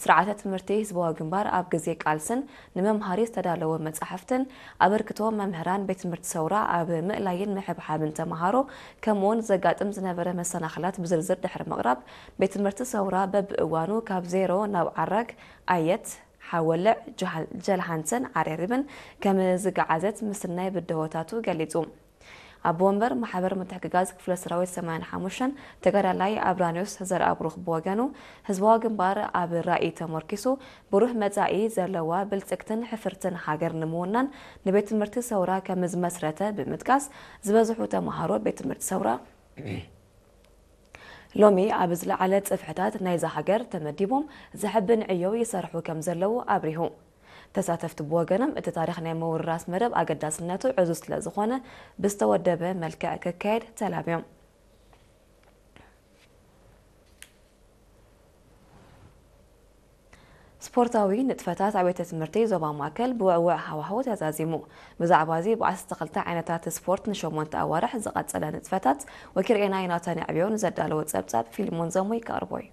ስርዓተ ትምህርቲ ህዝባዊ ግንባር ኣብ ግዜ ቃልስን ንመምሃሪ ዝተዳለወ መጻሕፍትን ኣበርክቶ መምህራን ቤት ትምህርቲ ሰውራ ኣብ ምእላይን ምሕብሓብን ተምሃሮ ከምኡውን ዘጋጥም ዝነበረ መሰናኽላት ብዝርዝር ድሕሪ ምቕራብ ቤት ትምህርቲ ሰውራ በብእዋኑ ካብ ዜሮ ናብ ዓራግ ኣየት ሓወልዕ ጀልሃንሰን ዓሬሪብን ከም ዝገዓዘት ምስናይ ብድሆታቱ ገሊጹ። ኣቦ ወንበር ማሕበር ምትሕግጋዝ ክፍለ ሰራዊት ሰማንያን ሓሙሽተን ተጋዳላይ ኣብራኒዮስ ዘርኣብሩኽ ብወገኑ ህዝባዊ ግንባር ኣብ ራእይ ተመርኪሱ ብሩህ መጻኢ ዘለዋ ብልጽግትን ሕፍርትን ሃገር ንምውናን ንቤት ትምህርቲ ሰውራ ከም ዝመስረተ ብምጥቃስ ዝበዝሑ ተምሃሮ ቤት ትምህርቲ ሰውራ ሎሚ ኣብ ዝለዓለ ጽፍሕታት ናይዛ ሃገር ተመዲቦም ዘሕብን ዕዮ ይሰርሑ ከም ዘለዉ ኣብሪሁ። ተሳተፍቲ ብወገኖም እቲ ታሪኽ ናይ ምውርራስ መደብ ኣገዳስነቱ ዕዙዝ ስለ ዝኾነ ብዝተወደበ መልክዕ ክካየድ ተላብዮም። ስፖርታዊ ንጥፈታት ኣብያተ ትምህርቲ ዞባ ማእከል ብውዕውዕ ሃዋህው ተዛዚሙ። ብዛዕባ እዚ ብዓሰርተ ክልተ ዓይነታት ስፖርት ንሸሞንተ ኣዋርሕ ዝቐጸለ ንጥፈታት ወኪል ኤና ዮናታን ኣዕብዮ ንዘዳለዎ ጸብጻብ ፊልሞን ዘሙይ ከቕርቦ እዩ።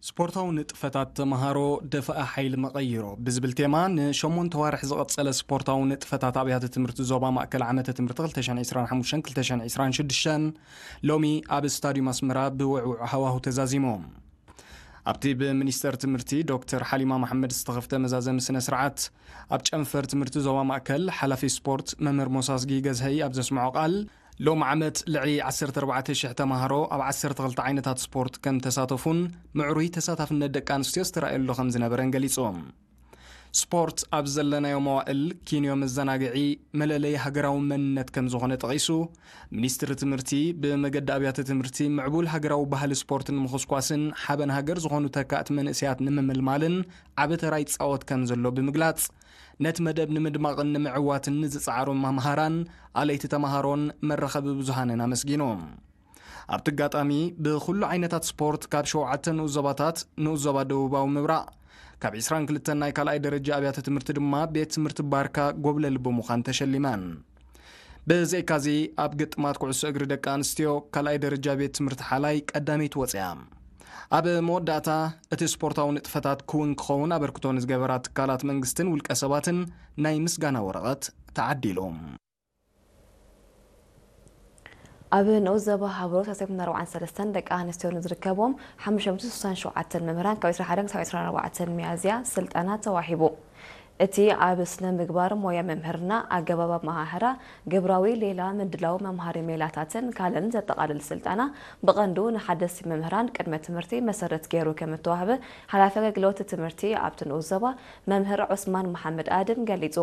ስፖርታዊ ንጥፈታት ተምሃሮ ደፍኣ ሓይሊ መቐይሮ ብዝብል ቴማ ንሸሞንተ ዋርሕ ዝቐጸለ ስፖርታዊ ንጥፈታት ኣብያተ ትምህርቲ ዞባ ማእከል ዓመተ ትምህርቲ ክልተ ሽሕን ዕስራን ሓሙሽተን ክልተ ሽሕን ዕስራን ሽዱሽተን ሎሚ ኣብ ስታዲዩም ኣስመራ ብውዕውዕ ሃዋሁ ተዛዚሙ። ኣብቲ ብሚኒስተር ትምህርቲ ዶክተር ሓሊማ መሓመድ ዝተኸፍተ መዛዘሚ ስነ ስርዓት ኣብ ጨንፈር ትምህርቲ ዞባ ማእከል ሓላፊ ስፖርት መምህር ሞሳዝጊ ገዝሀይ ኣብ ዘስምዖ ቃል ሎም ዓመት ልዕሊ ዓሰርተ ኣርባዕተ ሽሕ ተምሃሮ ኣብ ዓሰርተ ክልተ ዓይነታት ስፖርት ከም ተሳተፉን ምዕሩይ ተሳታፍነት ደቂ ኣንስትዮ ዝተራእየሉ ከም ዝነበረን ገሊጹ። ስፖርት ኣብ ዘለናዮ መዋእል ኪንዮ መዘናግዒ መለለይ ሃገራዊ መንነት ከም ዝኾነ ጠቒሱ፣ ሚኒስትሪ ትምህርቲ ብመገዲ ኣብያተ ትምህርቲ ምዕቡል ሃገራዊ ባህሊ ስፖርት ንምኹስኳስን ሓበን ሃገር ዝኾኑ ተካእቲ መንእሰያት ንምምልማልን ዓቢ ተራ ይጻወት ከም ዘሎ ብምግላጽ፣ ነቲ መደብ ንምድማቕን ንምዕዋትን ንዝጸዓሩ መምሃራን፣ ኣለይቲ ተምሃሮን መራኸቢ ብዙሃንን ኣመስጊኑ። ኣብቲ ኣጋጣሚ ብኹሉ ዓይነታት ስፖርት ካብ ሸውዓተ ንኡስ ዞባታት ንኡስ ዞባ ደቡባዊ ምብራቕ ካብ ዕስራን ክልተን ናይ ካልኣይ ደረጃ ኣብያተ ትምህርቲ ድማ ቤት ትምህርቲ ባርካ ጎብለል ብምዃን ተሸሊመን። ብዘይካዚ ኣብ ግጥማት ኩዕሶ እግሪ ደቂ ኣንስትዮ ካልኣይ ደረጃ ቤት ትምህርቲ ሓላይ ቀዳመይቲ ወፅያ። ኣብ መወዳእታ እቲ ስፖርታዊ ንጥፈታት ክውን ክኸውን ኣበርክቶ ንዝገበራ ትካላት መንግስትን ውልቀ ሰባትን ናይ ምስጋና ወረቐት ተዓዲሉ። ኣብ ንኡስ ዞባ ሃብሮ ሰለስተ ሚእትን ኣርባዓን ሰለስተን ደቂ ኣንስትዮ ንዝርከብዎም ሓሙሽተ ሚእትን ስሳን ሸውዓተን መምህራን ካብ ዕስራን ሓደን ክሳብ ዕስራን ኣርባዕተን ሚያዝያ ስልጠና ተዋሂቡ። እቲ ኣብ ስነ ምግባር ሞያ መምህርና ኣገባብ ኣመሃህራ ግብራዊ ሌላ ምድላው መምሃሪ ሜላታትን ካልእን ዘጠቓልል ስልጠና ብቐንዱ ንሓደስቲ መምህራን ቅድመ ትምህርቲ መሰረት ገይሩ ከም እተዋህበ ሓላፊ ኣገልግሎት ትምህርቲ ኣብቲ ንኡስ ዞባ መምህር ዑስማን መሓመድ ኣድም ገሊጹ።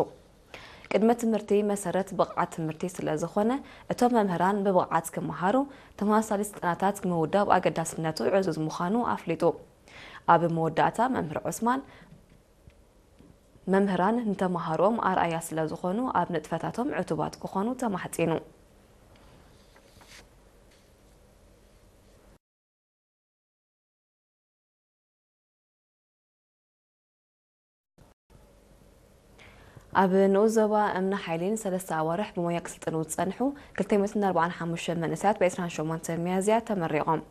ቅድመ ትምህርቲ መሰረት ብቕዓት ትምህርቲ ስለ ዝኾነ፣ እቶም መምህራን ብብቕዓት ክመሃሩ ተመሳሳሊ ስልጠናታት ምውዳብ ኣገዳስነቱ ዕዙዝ ምዃኑ ኣፍሊጡ። ኣብ መወዳእታ መምህር ዑስማን፣ መምህራን ንተምሃሮኦም ኣርኣያ ስለ ዝኾኑ ኣብ ንጥፈታቶም ዕቱባት ክኾኑ ተማሕጺኑ። ኣብ ንኡስ ዞባ እምኒ ሓይሊ ንሰለስተ ኣዋርሕ ብሞያ ክስልጥኑ ዝጸንሑ ክልተ ሚእትን ኣርባዓን ሓሙሽተን መንእሰያት ብ ዕስራን ሸሞንተን ሚያዝያ ተመሪቖም።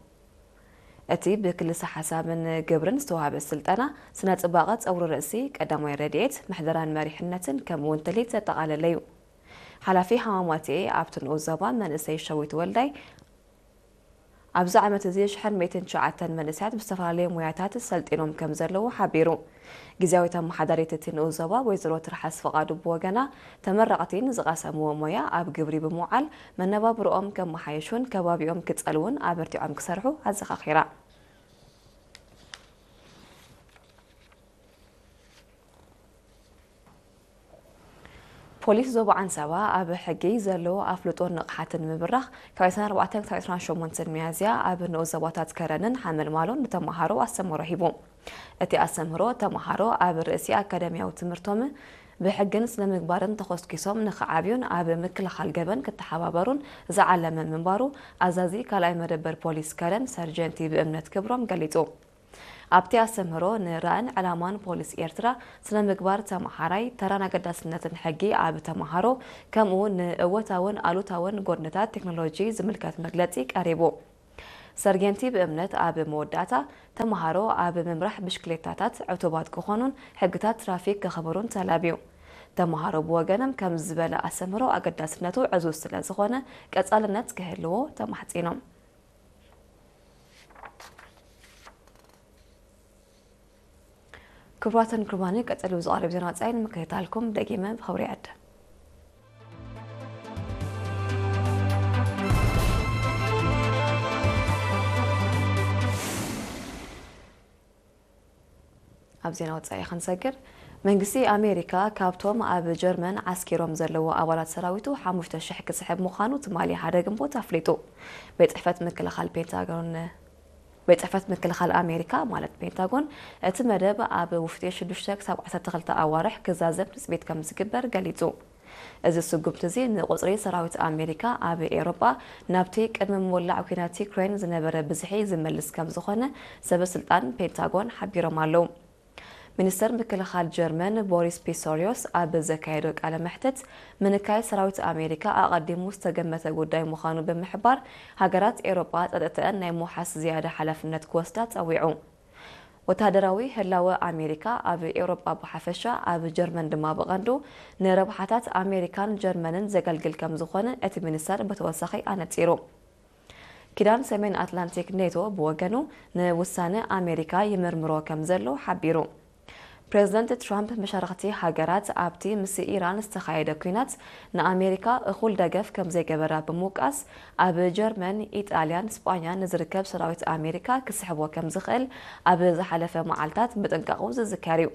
እቲ ብክልሰ ሓሳብን ግብርን ዝተዋህበ ስልጠና ስነ ጽባቐ ጸጉሪ ርእሲ፣ ቀዳማይ ረድኤት፣ ምሕደራን መሪሕነትን ከምኡ እውን ትልሂት ዘጠቓለለ እዩ። ሓላፊ ሃማማቴ ኣብቲ ንኡስ ዞባ መንእሰይ ሸዊት ወልዳይ ኣብዚ ዓመት እዚ ሽሕን ሚእትን ትሽዓተን መንእሰያት ብዝተፈላለየ ሞያታት ሰልጢኖም ከም ዘለዉ ሓቢሩ። ግዝያዊት ኣመሓዳሪት እቲ ንኡስ ዞባ ወይዘሮ ትርሓስ ፍቓዱ ብወገና፣ ተመረቕቲ ንዝቐሰምዎ ሞያ ኣብ ግብሪ ብምውዓል መነባብሮኦም ከመሓይሹን ከባቢኦም ክጸልዉን ኣበርቲዖም ክሰርሑ ኣዘኻኺራ። ፖሊስ ዞባ ዓንሰባ ኣብ ሕጊ ዘለዎ ኣፍልጦን ንቕሓትን ንምብራኽ ካብ ዕስራን ኣርባዕተን ክሳብ ዕስራን ሸሞንተን ሚያዝያ ኣብ ንኡስ ዞባታት ከረንን ሓመልማሎን ንተመሃሮ ኣስተምህሮ ሂቡ። እቲ ኣስተምህሮ ተመሃሮ ኣብ ርእሲ ኣካዳሚያዊ ትምህርቶም ብሕግን ስነ ምግባርን ተኾስኪሶም ንኽዓብዩን ኣብ ምክልኻል ገበን ክተሓባበሩን ዝዓለመ ምንባሩ ኣዛዚ ካልኣይ መደበር ፖሊስ ከረን ሰርጀንቲ ብእምነት ክብሮም ገሊጹ። ኣብቲ ኣስተምህሮ ንራእን ዕላማን ፖሊስ ኤርትራ፣ ስነ ምግባር ተመሃራይ፣ ተራን ኣገዳስነትን ሕጊ ኣብ ተመሃሮ፣ ከምኡ ንእወታውን ኣሉታውን ጎድንታት ቴክኖሎጂ ዝምልከት መግለጺ ቀሪቡ። ሰርጌንቲ ብእምነት ኣብ መወዳእታ፣ ተመሃሮ ኣብ ምምራሕ ብሽክሌታታት ዕቱባት ክኾኑን ሕግታት ትራፊክ ከኽብሩን ተላብዩ። ተመሃሮ ብወገኖም ከምዚ ዝበለ ኣስተምህሮ ኣገዳስነቱ ዕዙዝ ስለ ዝኾነ ቀጻልነት ክህልዎ ተማሕጺኖም። ክቡራትን ክቡራንን፣ ቀጺሉ ዝቐርብ ዜና ወጻኢ ንምክትታልኩም ደጊመ ብኽብሪ ይዕድም። ኣብ ዜና ወጻኢ ክንሰግር፣ መንግስቲ ኣሜሪካ ካብቶም ኣብ ጀርመን ዓስኪሮም ዘለዉ ኣባላት ሰራዊቱ ሓሙሽተ ሽሕ ክስሕብ ምዃኑ ትማሊ ሓደ ግንቦት ኣፍሊጡ። ቤት ጽሕፈት ምክልኻል ፔንታጎን ቤት ጽሕፈት ምክልኻል ኣሜሪካ ማለት ፔንታጎን፣ እቲ መደብ ኣብ ውሽጢ ሽዱሽተ ክሳብ ዓሰርተ ክልተ ኣዋርሕ ክዛዘም ትጽቢት ከም ዝግበር ገሊጹ። እዚ ስጉምቲ እዚ ንቁጽሪ ሰራዊት ኣሜሪካ ኣብ ኤውሮጳ ናብቲ ቅድሚ ምውላዕ ኲናት ዩክሬን ዝነበረ ብዝሒ ዝመልስ ከም ዝኾነ ሰበ ስልጣን ፔንታጎን ሓቢሮም ኣለዉ። ሚኒስተር ምክልኻል ጀርመን ቦሪስ ፒስቶሪዮስ ኣብ ዘካየዶ ቃለ መሕትት፣ ምንካይ ሰራዊት ኣሜሪካ ኣቐዲሙ ዝተገመተ ጉዳይ ምዃኑ ብምሕባር፣ ሃገራት ኤውሮጳ ጸጥተአን ናይ ምውሓስ ዝያዳ ሓላፍነት ክወስዳ ጸዊዑ። ወተሃደራዊ ህላወ ኣሜሪካ ኣብ ኤውሮጳ ብሓፈሻ፣ ኣብ ጀርመን ድማ ብቐንዱ፣ ንረብሓታት ኣሜሪካን ጀርመንን ዘገልግል ከም ዝኾነ እቲ ሚኒስተር ብተወሳኺ ኣነጺሩ። ኪዳን ሰሜን ኣትላንቲክ ኔቶ ብወገኑ፣ ንውሳነ ኣሜሪካ ይምርምሮ ከም ዘሎ ሓቢሩ። ፕሬዝደንት ትራምፕ፣ መሻርኽቲ ሃገራት ኣብቲ ምስ ኢራን ዝተኻየደ ኲናት ንኣሜሪካ እኹል ደገፍ ከም ዘይገበራ ብምውቃስ፣ ኣብ ጀርመን፣ ኢጣልያን ስጳኛን ንዝርከብ ሰራዊት ኣሜሪካ ክስሕቦ ከም ዝኽእል ኣብ ዝሓለፈ መዓልታት ምጥንቃቑ ዝዝከር እዩ።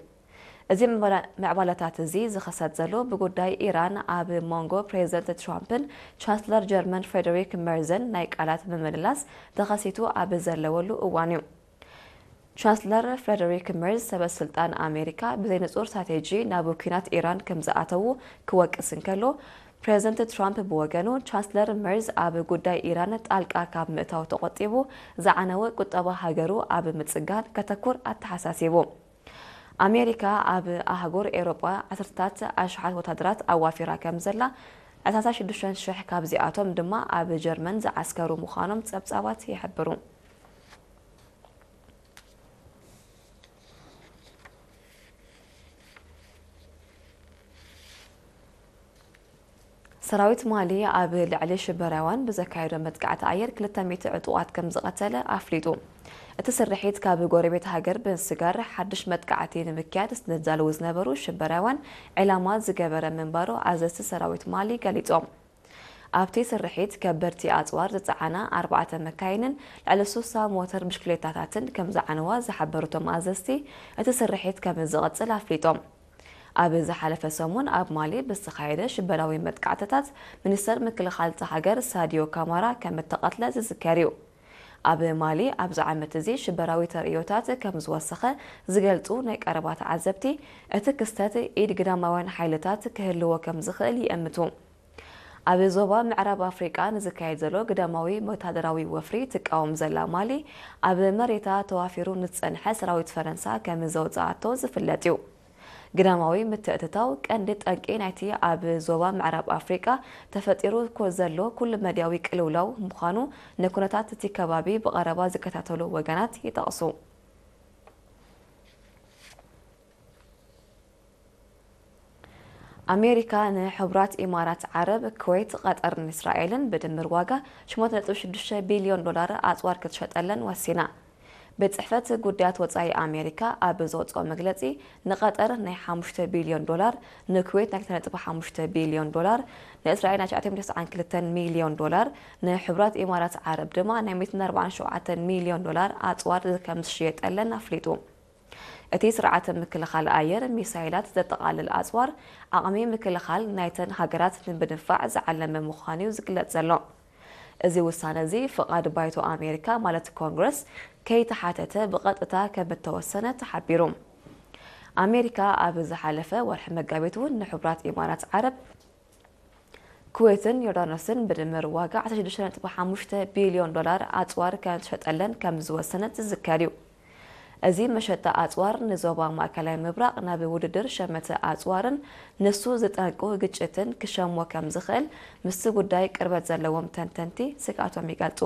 እዚ ምዕባለ-፣ ምዕባለታት እዚ ዝኸሰት ዘሎ ብጉዳይ ኢራን ኣብ መንጎ ፕሬዝደንት ትራምፕን ቻንስለር ጀርመን ፍሬደሪክ መርዝን ናይ ቃላት ምምልላስ ተኸሲቱ ኣብ ዘለወሉ እዋን እዩ። ቻንስለር ፍሬደሪክ መርዝ፣ ሰበ ስልጣን ኣሜሪካ ብዘይንጹር ስትራቴጂ ናብ ኲናት ኢራን ከም ዝኣተዉ ክወቅስ እንከሎ፣ ፕሬዝደንት ትራምፕ ብወገኑ፣ ቻንስለር መርዝ ኣብ ጉዳይ ኢራን ጣልቃ ካብ ምእታው ተቖጢቡ፣ ዝዓነወ ቁጠባ ሃገሩ ኣብ ምጽጋን ከተኩር ኣተሓሳሲቡ። ኣሜሪካ ኣብ ኣህጉር ኤውሮጳ ዓሰርተታት ኣሽሓት ወታደራት ኣዋፊራ ከም ዘላ፣ ዕስራን ሽዱሽተን ሽሕ ካብዚኣቶም ድማ ኣብ ጀርመን ዝዓስከሩ ምዃኖም ጸብጻባት ይሕብሩ። ሰራዊት ማሊ ኣብ ልዕሊ ሽበራውያን ብዘካየዶ መጥቃዕቲ ኣየር ክልተ ሚእቲ ዕጡቓት ከም ዝቐተለ ኣፍሊጡ። እቲ ስርሒት ካብ ጎረቤት ሃገር ብምስጋር ሓድሽ መጥቃዕቲ ንምክያድ ዝዳለዉ ዝነበሩ ሽበራውያን ዒላማ ዝገበረ ምንባሩ ኣዘዝቲ ሰራዊት ማሊ ገሊጾም። ኣብቲ ስርሒት ከበድቲ ኣጽዋር ዝጸዓና ኣርባዕተ መካይንን ልዕሊ ሱሳ ሞተር ብሽክሌታታትን ከም ዝዓነዋ ዝሓበሩ እቶም ኣዘዝቲ፣ እቲ ስርሒት ከም ዝቕጽል ኣፍሊጦም። ኣብ ዝሓለፈ ሰሙን ኣብ ማሊ ብዝተኻየደ ሽበራዊ መጥቃዕትታት፣ ሚኒስተር ምክልኻል እታ ሃገር ሳድዮ ካማራ ከም እተቐትለ ዝዝከር እዩ። ኣብ ማሊ ኣብዚ ዓመት እዚ ሽበራዊ ተርእዮታት ከም ዝወሰኸ ዝገልጹ ናይ ቀረባ ተዓዘብቲ፣ እቲ ክስተት ኢድ ግዳማውያን ሓይልታት ክህልዎ ከም ዝኽእል ይእምቱ። ኣብ ዞባ ምዕራብ ኣፍሪቃ ንዝካየድ ዘሎ ግዳማዊ ወተሃደራዊ ወፍሪ ትቃወም ዘላ ማሊ፣ ኣብ መሬታ ተዋፊሩ ንዝጸንሐ ሰራዊት ፈረንሳ ከም ዘውጽኣቶ ዝፍለጥ እዩ። ግዳማዊ ምትእትታው ቀንዲ ጠንቂ ናይቲ ኣብ ዞባ ምዕራብ ኣፍሪቃ ተፈጢሩ ኮ-፣ ዘሎ ኩሉ መድያዊ ቅልውላው ምዃኑ ንኩነታት እቲ ከባቢ ብቐረባ ዝከታተሉ ወገናት ይጠቕሱ። ኣሜሪካ ንሕቡራት ኢማራት ዓረብ፣ ኩዌት፣ ቐጠርን እስራኤልን ብድምር ዋጋ ሸሞንተ ነጥቢ ሽዱሽተ ቢልዮን ዶላር ኣጽዋር ክትሸጠለን ወሲና። ቤት ጽሕፈት ጉዳያት ወጻኢ ኣሜሪካ ኣብ ዘውጽኦ መግለጺ፣ ንቐጠር ናይ ሓሙሽተ ቢልዮን ዶላር፣ ንኩዌት ናይ ክልተ ነጥቢ ሓሙሽተ ቢልዮን ዶላር፣ ንእስራኤል ናይ ትሽዓተ ሚእቲ ተስዓን ክልተን ሚልዮን ዶላር፣ ንሕቡራት ኢማራት ዓረብ ድማ ናይ ሚእትን ኣርባዓን ሸውዓተን ሚልዮን ዶላር ኣጽዋር ከም ዝሽየጠለን ኣፍሊጡ። እቲ ስርዓተ ምክልኻል ኣየር፣ ሚሳይላት ዘጠቓልል ኣጽዋር፣ ዓቕሚ ምክልኻል ናይተን ሃገራት ንምድንፋዕ ዝዓለመ ምዃኑ እዩ ዝግለጽ ዘሎ። እዚ ውሳነ እዚ ፍቓድ ባይቶ ኣሜሪካ ማለት ኮንግረስ ከይተሓተተ ብቐጥታ ከም እተወሰነ ተሓቢሩ። ኣሜሪካ ኣብ ዝሓለፈ ወርሒ መጋቢት እውን ንሕቡራት ኢማራት ዓረብ፣ ኩዌትን ዮርዳኖስን ብድምር ዋጋ ዓሰርተ ሽዱሽተ ነጥቢ ሓሙሽተ ቢልዮን ዶላር ኣጽዋር ከም ትሸጠለን ከም ዝወሰነት ዝዝከር እዩ። እዚ መሸጣ ኣጽዋር ንዞባ ማእከላይ ምብራቕ ናብ ውድድር ሸመተ ኣጽዋርን ንሱ ዝጠንቁ ግጭትን ክሸሞ ከም ዝኽእል ምስቲ ጉዳይ ቅርበት ዘለዎም ተንተንቲ ስግኣቶም ይገልጹ።